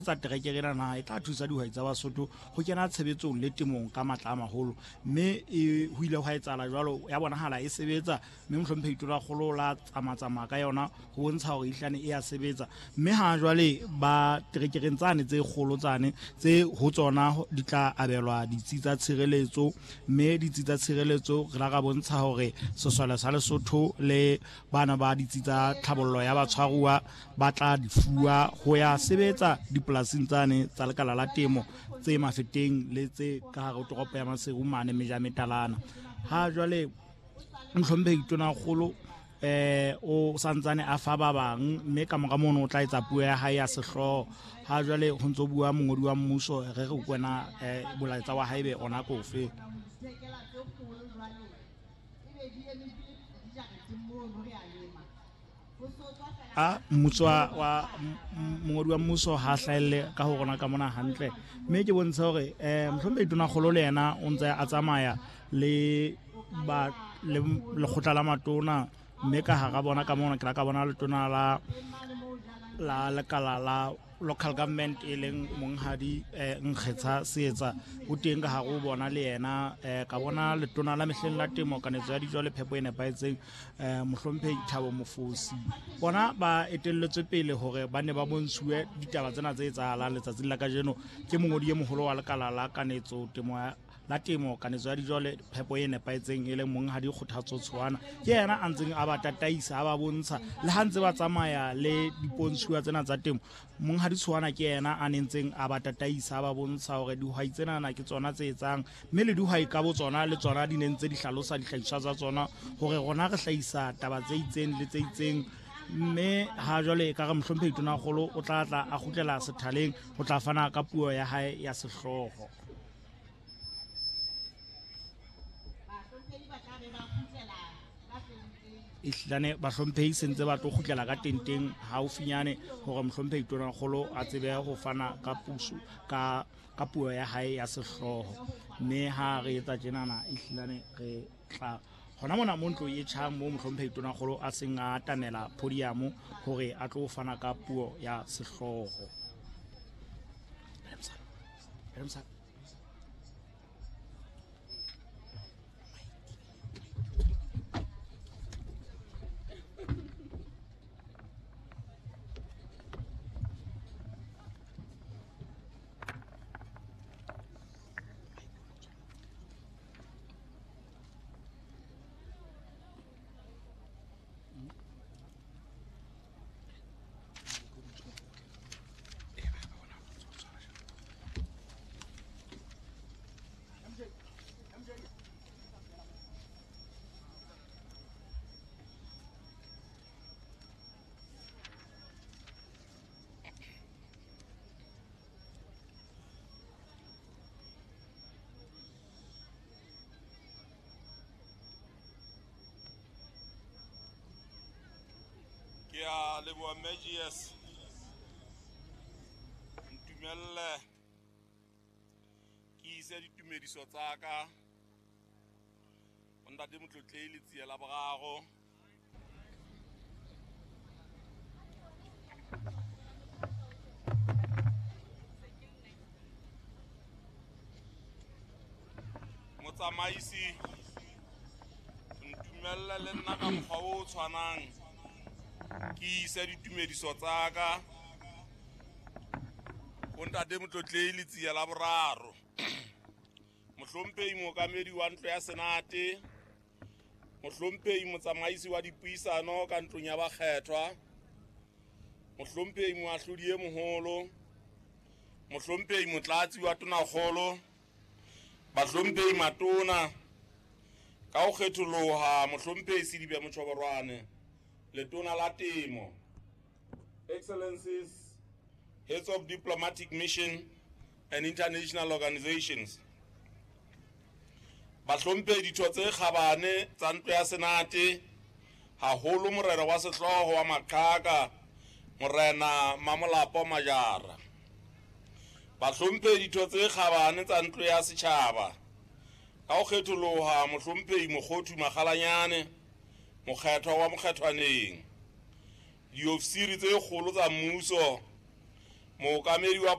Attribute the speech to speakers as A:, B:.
A: Tsa terekere ena na e tla thusa dihwai tsa Basotho ho kena tshebetsong le temong ka matla a maholo, mme e ho ile hwa etsahala jwalo, ya bonahala e sebetsa, mme mohlomphehi Tonakgolo la tsamatsamaya ka yona ho bontsha hore ehlane e ya sebetsa. Mme ha jwale ba terekereng tsane tse kgolo tsane tse ho tsona di tla abelwa ditsi tsa tshireletso, mme ditsi tsa tshireletso re la ra bontsha hore sesole sa Lesotho le bana ba ditsi tsa tlhabollo ya batshwaruwa ba tla di fuwa ho ya sebetsa dipolasing tsane tsa lekala la temo tse Mafeteng le tse ka hare ho toropo ya Maseru mane Mejametalana. Ha jwale mohlomphehi Tonakgolo o santsane a fa ba bang, mme ka mora mono o tla etsa puo ya hae ya sehlooho. Ha jwale ho ntso bua mongodi wa mmuso, re re kwena molaetsa wa hae be ona kofe. A mmuso wa mongodi wa mmuso ha hlahelle ka ho rona ka mona hantle, mme ke bontsha hore mohlomphehi Tonakgolo le yena o ntse a tsamaya le ba le lekgotla la matona, mme ka hara bona ka mona ke la ka bona letona la lekala la local government e leng monghadi Nkgetsha Seetsa o teng ka hare ho bona le yena. Ka bona letona la mehleng la temo, kanetso ya dijo le phepo e nepahetseng, mohlomphehi Thabo Mofosi. Bona ba etelletswe pele hore ba ne ba bontshuwe ditaba tsena tse etsahalang letsatsing la kajeno ke mongodi e moholo wa lekala la kanetso temo ya la temo, kanetso ya dijo le phepo e nepahetseng e leng monghadi Kgothatso Tshoana. Ke yena a ntseng a ba tataisa, a ba bontsha le ha ntse ba tsamaya le dipontshuwa tsena tsa temo. Monghadi Tshoana ke yena a nentseng a ba tataisa, a ba bontsha hore dihwai tsenana ke tsona tse etsang, mme le dihwai ka bo tsona le tsona di ne ntse di hlalosa dihlahiswa tsa tsona hore rona re hlahisa taba tse itseng le tse itseng. Mme ha jwale e ka re mohlomphehi Tonakgolo o tla tla a kgutlela sethaleng ho tla fana ka puo ya hae ya sehlooho. Ehlane bahlomphehi se ntse ba tlo kgutlela ka tenteng haufinyane hore mohlomphehi Tonakgolo a tsebe ho fana ka puso ka puo ya hae ya sehlooho. Mme ha re etsa tjenana ehlane re tla hona mona mo ntlo e tjhang mo mohlomphehi Tonakgolo a seng a atamela podium hore a tlo fana ka puo ya sehlooho.
B: Ke a leboha Mme GS. Ntumelle ke ise ditumediso tsa ka ho ntate Motlotlehi Letsie la Boraro. Motsamaisi, ntumelle le nna ka mokgwa o tshwanang ke ise ditumediso tsa ka ho ntate Motlotlehi Letsie la Boraro. Mohlomphehi mookamedi wa ntlo ya Senate, mohlomphehi motsamaisi wa dipuisano ka ntlong ya bakgethwa, mohlomphehi moahlodi e moholo, mohlomphehi motlatsi wa tonakgolo, bahlomphehi matona ka ho kgetholoha, mohlomphehi Sedibe Motjhoborwane, letona la temo, Excellencies, heads of diplomatic mission and international organizations, bahlomphehi ditho tse kgabane tsa ntlo ya Senate, haholo morena wa sehlooho wa Maqhaka, morena Mamolapo Majara, bahlomphehi ditho tse kgabane tsa ntlo ya setjhaba, ka ho kgetholoha mohlomphehi Mokgothu Makgalanyane, mokgethwa wa Mokgethwaneng, diofisiri tse kgolo tsa mmuso, mookamedi wa